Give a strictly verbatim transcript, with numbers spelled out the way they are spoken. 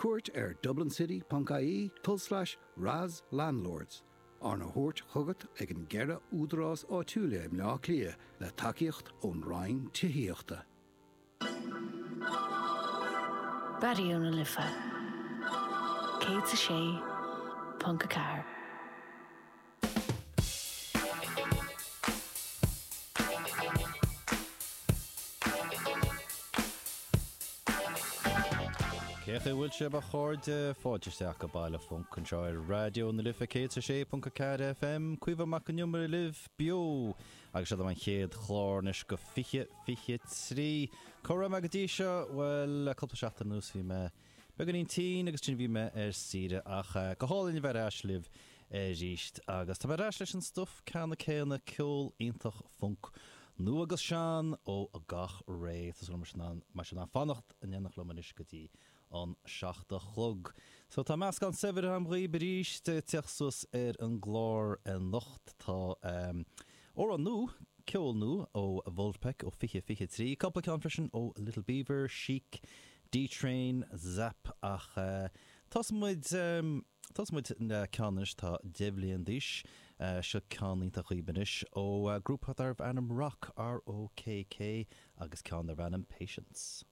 cuairt ar dublincity.ie tulslais RAS Landlords, arna thabhairt chugat ag an gceithre údarás áitiúla i mBleá Cliath le tacaíocht ón Roinn Tithíochta. Raidió na Life céad a sé ponc a ceathair. Cén chaoi a bhfuil sibh a chairde? Fáilte isteach go Baile Func anseo ar Raidió na Life céad a sé ponc a ceathair FM. Caoimhe Mac Con Iomaire libh beo agus seo an chéad chlár anois go fiche fiche trí. Cá raibh mé go dtí seo? Bhuel, le cúpla seachtain anuas bhí mé beagáinín tinn agus ansin bhí mé ar saoire ach go hálainn a bheith ar ais libh arís agus tá mé ar ais leis an stuif ceanna céanna, ceol iontach func nua agus sean ó gach ré. Tá súil agam go mbeidh sibh in ann fanacht in éineacht liom anois go dtí an seacht a chlog. So tá meascán saibhir agam dhaoib arís ag teacht suas ar an gclár anocht. Tá amhrán nua, ceol nua ó Vulfpeck ó fiche fiche trí, cúpla ceann freisin ó Little Beaver, Chic, D-Train, Zapp ach tosóidh muid, tosóidh muid le ceann anois atá deich bhliain d'aois. Seo ceann iontach dhaoib anois ó grúpa darbh ainm Rokk, R-O-K-K, agus ceann darb ainm Patience.